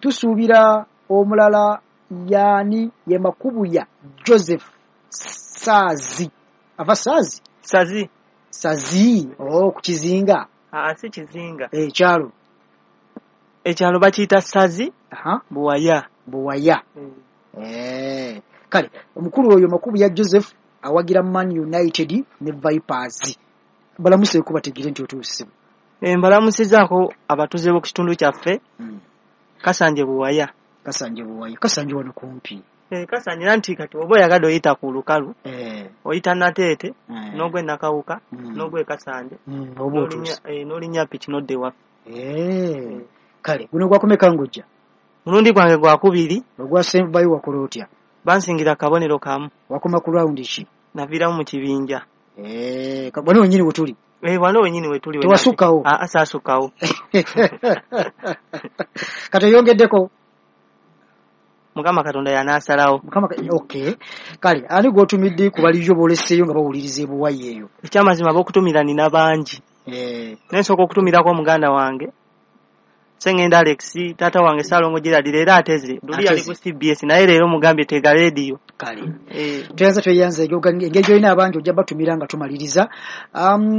Tusuubira omulala yaani ye Makubuya Joseph Saazi. Ava Saazi? Sazi. Sazi, oh, ku Kizinga. Si Kizinga. Ekyalo. Ekyalo bakiyita Sazi. Buwaya. Buwaya. Kale, omukulu oyo Makubuya Joseph awagira Man United ne Vipers. Balamuseeko bategere nti otuuse. Mbalamusizaako abatuuze b'oku kitundu kyaffe. Kasanje Buwaya. Kasanje Buwaya. Kasanje wano kumpi. Kasanje nti kati oba oyagadde oyita ku lukalu. Oyita Nateete, n'ogwa e Nakawuka, n'ogwa e Kasanje. Oba otuuse. N'olinnya piki n'odda ewaffe. Kale, guno gwakumeka ng'ojja? Mulundi gwange gwakubiri. Ogwasembayo wakola otya? Bansingira akabonero kamu. Wakoma ku rawundi ki? Naviiramu mu kibinja. Wano wennyini we tuli? Wano wennyini we tuli. Tewasukkawo? Saasukkawo. Kati oyongeddeko? Mukama Katonda y'anaasalawo. Mukama okay. Kale, ani gw'otumidde ku baliyo b'oleseeyo nga bawuliriza ebuwayi eyo? Ekyamazima ab'okutumira nina bangi. Naye nsooka okutumirako muganda wange Sengenda Alex, taata wange Ssalongo Gerald leero ateze. Luli yali ku CBS naye leero mugambye tega leediyo. Kale. Tweyanza tweyanza engeri gy'olina abangi ojja batumira nga tumaliriza.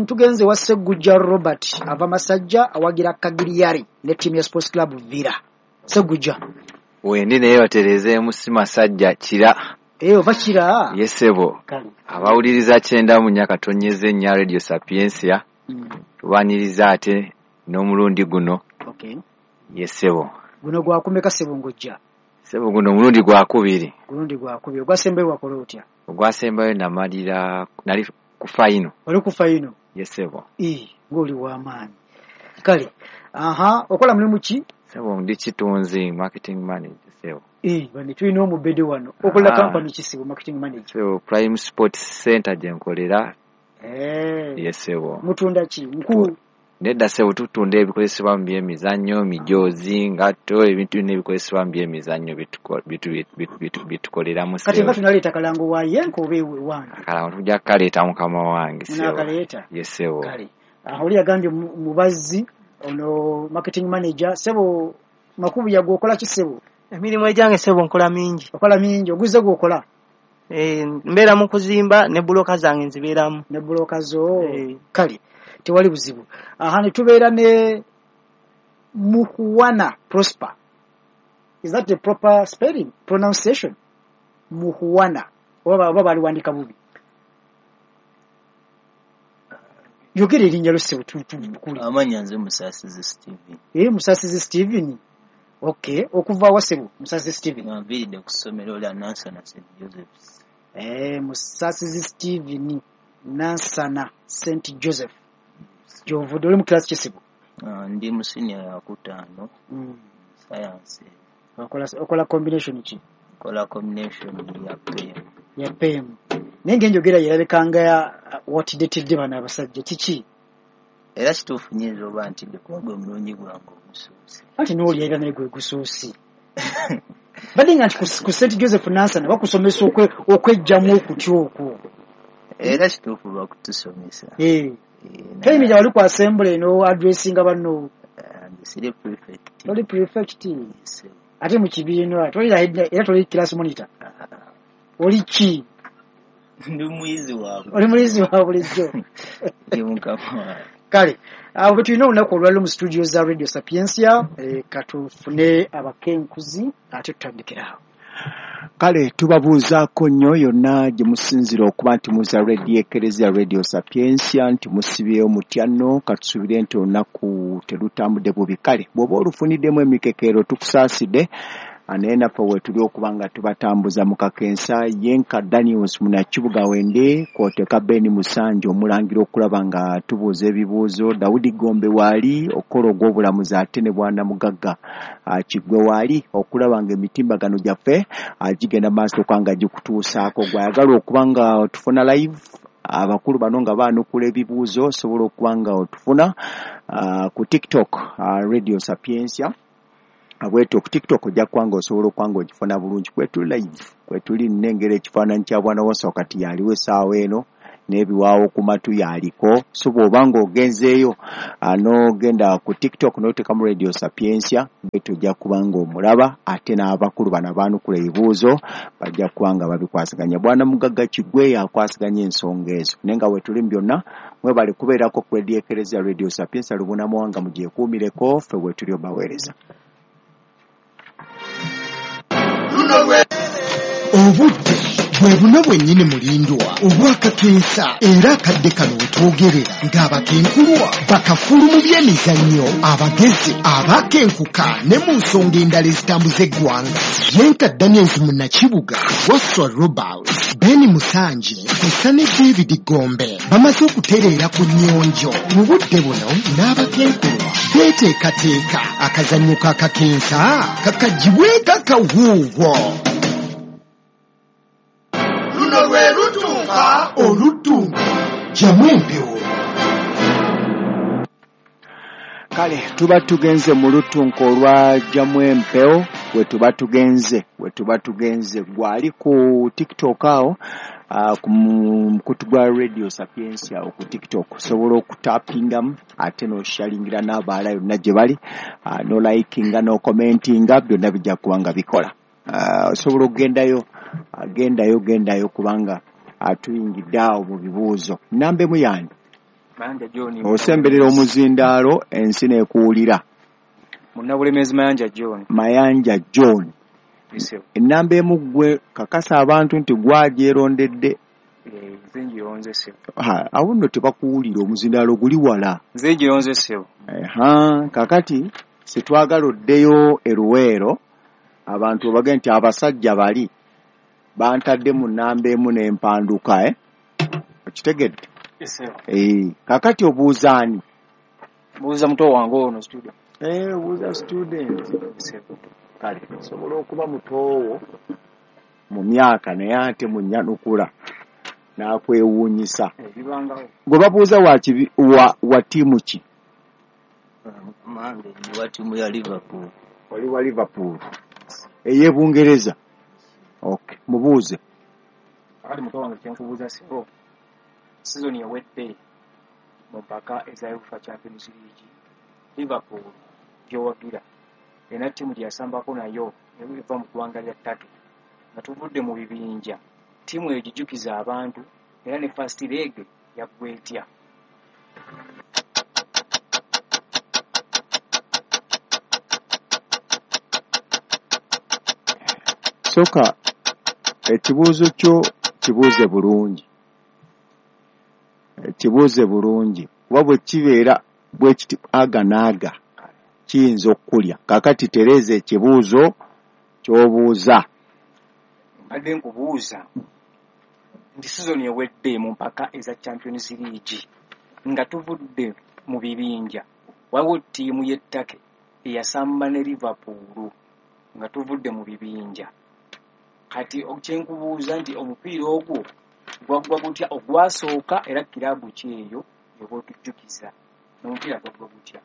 Tugenze wa Ssegujja Robert ava Masajja awagira Kagiriyari ne ttiimu ya Sports Club Villa. Ssegujja. Wendi naye batereezeemu si Masajja Kira. Ova Kira? Ye ssebo. Abawuliriza 94.4 Radio Sapientia. Tubaniriza ate n'omulundi guno. Okay. Ye ssebo. Guno gwakumeka ssebo ng'ojja? Ssebo guno omulundi gwakubiri. Gulundi gwakubiri. Ogwasembayo wakola otya? Ogwasembayo namalira nali ku fayino. Oli ku fayino? Ye ssebo. Ng'oli w'amaanyi. Kale, okola mulimu ki? Ssebo ndi kitunzi, marketing manager ssebo. Bano tulina omubede wano. Okola company ki ssebo, marketing manager? Ssebo Prime Sports Center gye nkolera. Ye ssebo. Mutunda ki? Nku Nedda ssebo tutunda ebikozesebwa mu byemizannyo, mijoozi, ngatto, ebintu byonna ebikozesebwa mu byemizannyo bitukoleramu ssebo. Kati nga tunaleeta kalango wa Yenko oba ewe wange? Akalango tujja kukaleeta mukama wange ssebo. Munaakaleeta? Ye ssebo. Kale. Oli yagambye mubazzi ono marketing manager ssebo Makubuya gw'okola ki ssebo? Emirimu egyange ssebo nkola mingi. Okola mingi, oguze gw'okola? Mbeera mu kuzimba ne buloka zange nzibeeramu. Ne buloka zo? Kale. Tewali buzibu. Ne tubeera ne Muhuwana Prosper. Is that the proper spelling? Pronunciation? Muhuwana. Oba baliwandika bubi. Yogera erinnya lyo ssebo tukuli. Amannya nze Musasizi Steven. Musasizi Steven. Okay, okuva wa ssebo Musasizi Steven? Nviiridde ku ssomero lya Nansana St. Joseph's. Musasizi Steven Nansana St. Joseph. Gy'ovudde oli mu class ki ssebo? Ndi mu senior yakutaano. Science. Okola combination ki? Nkola combination ya PM. Ya PM. Naye ng'enjogera yerabika nga watidetedde bano abasajja kiki? Era kituufu nnyinza oba ntidde kuba gwe mulungi gwange ogusoose. Anti n'oli era naye gwe gusoose. Badde nga nti ku St. Joseph Nansana bakusomesa okwejjamu okutya okwo. Era kituufu bakutusomesa. Toyimiriza wali ku assembly eno addressinga banno. Siri prefect. Toli prefect. Ate mu kibiina toli era toli class monitor. Oli ki? Ndi muyizi waabwe. Oli muyizi wa bulijjo. Ndi mukama waabwe. Kale, awo bwe tulina olunaku olwaleero mu studio za Radio Sapientia, katufune abakenkuzi ate tutandikire awo. Kale tubabuuzaako nnyo yonna gye musinzira okuba nti muza Radio Ekereziya Radio Sapientia nti musibyeyo mutya nno katusuubire nti olunaku terutambudde bubi. Kale bw'oba olufuniddemu emikekeero tukusaasidde naye naffe weetuli okuba nga tubatambuza mu kakensa. Yenka Daniels Munakibuga wende kw'oteeka Ben Musanje omulangira okulaba nga tubuuza ebibuuzo. Daudi Gombe waali okukola ogw'obulamuzi ate ne Bwana Mugagga Kiggwe waali okulaba nga emitimbagano gyaffe gigenda maaso okuba nga gikutuusaako. Gw'ayagala okuba nga otufuna live abakulu bano nga baanukula ebibuuzo osobola okuba nga otufuna ku TikTok Radio Sapientia. Bwetyo ku TikTok ojja kuba nga osobola okuba nga ogifuna bulungi. Kwetuli live, kwetuli nnengera ekifaananyi kya Bwana Wasa wakati yaliwo essaawa eno n'ebiwaawo ku matu yaliko. So bw'oba ng'ogenzeeyo n'ogenda ku TikTok n'oteekamu Radio Sapientia, tojja kuba ng'omulaba, ate n'abakulu bano abaanukula ebibuuzo bajja kuba nga babikwasaganya. Bwana Mugagga Kigwe yakwasaganya ensonga ezo, naye nga wetuli mu byonna mwebale kubeerako ku Radio Ekereziya Radio Sapientia Lubona Muwanga, mugyekuumireko, ffe wetuli obaweereza. Obudde bwe buno bwennyini mulindwa obwakakensa, era akadde kano wetwogerera ng'abakenkulwa bakafulu mu by'emizannyo, abagezi abakenkuka ne mu nsonga endala ezitambuza eggwanga. Yenka Daniels Munnakibuga, Wasswa Robert, Ben Musanje kw'ossa ne David Gombe bamaze okutereera ku nnyonjo. Mu budde buno n'abakenkulwa beeteekateeka akazannyo k'akakensa kakagibweko akawuuwo. Luno lwe lutunka oluttunka jamu empewo. Kale tuba tugenze mu lutunka olwa jamu empewo, we tuba tugenze gwali ku TikTok awo, ku mukutu gwa Radio Sapientia awo ku TikTok osobola okutapingamu ate n'osharingira n'abalala yonna gye bali, n'olikinga n'okomentinga, byonna bijja kuba nga bikola. Osobola okugendayo, gendayo kubanga atuyingidde awo mu bibuuzo. Namba emu yange Mayanja John, osemberera omuzindaalo ensi n'ekuwulira. Munnabulemeezi Mayanja John. Mayanja John. Ennamba emu ggwe kakasa abantu nti gwagyerondedde. Nze ngironze ssebo. Awo nno tebakuwulira, omuzindaalo guli wala. Nze ngironze ssebo. Kakati sitwagala oddeyo e Luweero abantu obage nti abasajja bali bantadde mu nnamba emu n'empanduka, okitegedde? Kakati obuuza ani? Mbuuza muto wange ono student. Obuuza student. Kale osobola okuba mutoowo mu myaka naye ate munnyanukula n'akwewuunyisa. Gwe babuuza wa ttiimu ki? Mange ndi wa ttiimu ya Liverpool. Oli wa Liverpool ey'e Bungereza. Okay, mubuuze. Akati muto wange kyenkubuuza ssebo, sizoni ewedde mu mpaka eza UEFA Champions League, Liverpool gy'owagira erina ttiimu gye yasambako nayo eva mu ggwanga lya Turkey, nga tuvudde mu bibinja, ttiimu eyo gijjukiza abantu era ne first leg yaggwa etya? Sooka ekibuuzo kyo kibuuze bulungi. Kibuuze bulungi kuba bwe kibeera bwe kiti aga n'aga kiyinza okukulya. Kaakati tereeza ekibuuzo ky'obuuza. Mbadde nkubuuza nti sizoni ewedde mu mpaka eza Champions League nga tuvudde mu bibinja, waliwo ttiimu y'e Turkey eyasamba ne Liverpool nga tuvudde mu bibinja. Kati kyenkubuuza nti omupiira ogwo gwaggwa gutya ogwasooka, era kiraabu ki eyo gy'oba otujjukiza n'omupiira gwaggwa gutya?